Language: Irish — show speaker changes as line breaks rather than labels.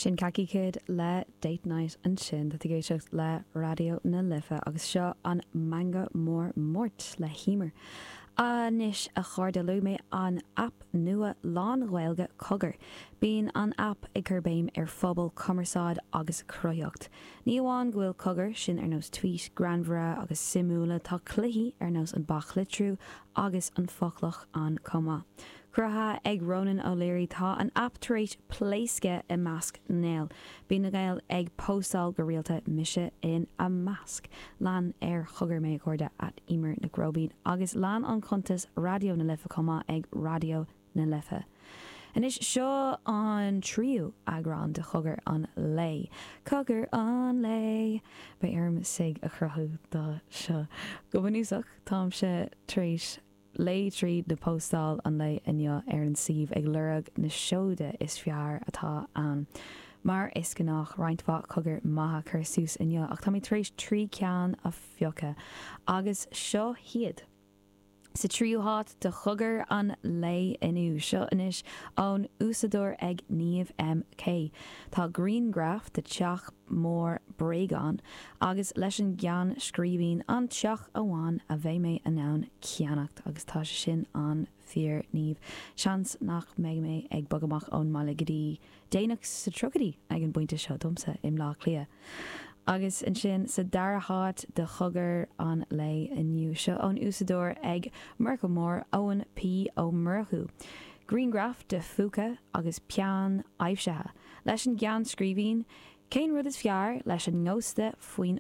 Sin Khaki Kid le Date Night ansin. Tá tú ag éisteacht le Raidió na Life agus seo an Meangadh Mór Máirt le hEmer. Anois a chairde, luaigh mé an aip nua lán-Ghaeilge Cogar. Bíonn an aip ag cur béim ar phobal, cumarsáid agus cruthaitheacht. Ní amháin go bhfuil cogar, sin ar nós tweet, greannmhara agus suimiúla, tá cluichí ar nós an baclitriú agus an foclach ann chomh maith. Cruthaithe ag Ronan O'Leary, tá an aip tar éis pléascadh i measc na nGael. Bíonn na Gaeil ag póstáil go rialta, mise ina measc. Lean ar Chogar mé a chairde, at Emer Nic Róibín, agus lean an cuntas Raidió na Life chomh maith ag Raidió na Life. Anois seo an tríú eagrán de Chogar an Lae. Cogar an Lae! Beidh orm sig a chruthú do seo. Go bunúsach, táimse tar éis léigh tríd na póstáil an lae inniu ar an suíomh ag lorg na seoda is fearr atá ann. Mar is gnách, roinnt mhaith cogar maithe curtha suas inniu ach tá mé tar éis 3 ceann a phiocadh agus seo hiad. Sa tríú háit do chogar an lae inniu, seo anois ón úsáideoir ag Niamh MK. Tá grianghraf de teach mór bréagán agus leis an gceann scríbhinn 'An teach amháin a bheidh mé in ann ceannacht' agus tá sé sin an-fhíor Niamh. Seans nach mbeidh mé ag bogadh amach ón mbaile go dtí déanach sa tríochaidí ag an bpointe seo domsa i mBleá Cliath. Agus ansin sa dara háit do chogar an lae inniu, seo ón úsáideoir ag Murchadh Mór, Eoin P. Ó Murchú. Grianghraf de phúca agus peann aibhsithe. Leis an gceann scríbhinn, Cén rud is fearr leis an ngósta faoin.